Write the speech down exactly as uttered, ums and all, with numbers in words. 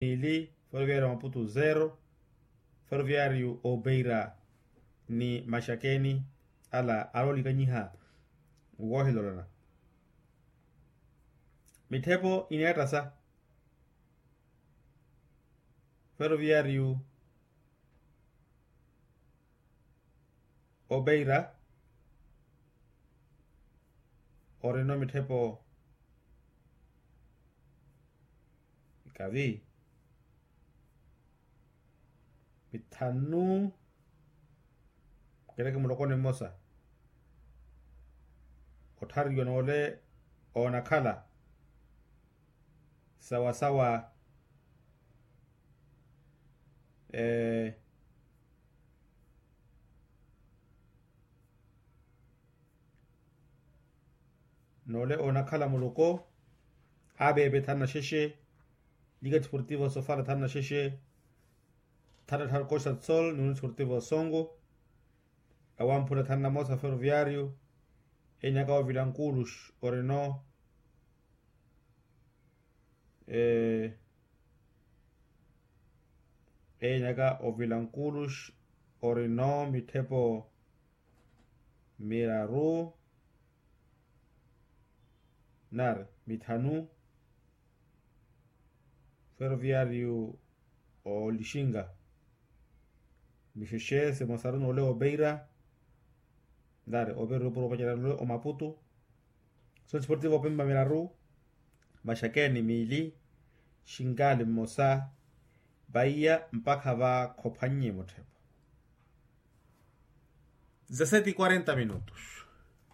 Niili ferroviario maputu zero. Ferroviario obeira ni maxakeni ala aroolikanyiha woohilolana. Mitthepo ineettasa ferroviario obeira orino mitthepo ikavi mithanu kereke mulokoni mmosa otthariwa noole oonakhala sawasawa noole oonakhala muloko abeepe thanna xexe. Lika disportivo sofala thanna xexe. Thanna tharkoxa tsol ni unisportivo songo awamphula thanna mosa ferroviario. Eenyaka ovila nkulux orino eenyaka ovila nkulux orino mitthepo miraru nari mithanu. Ferroviario olixinga mixexe simosaru noole obeira nari obeira opuro opacerya noole omaputu. Sonisportivo opempa miraru maxakeni miili xingali mmosa vaiya mpakha va khophannye mutthepo. Dezasete quarenta minutos.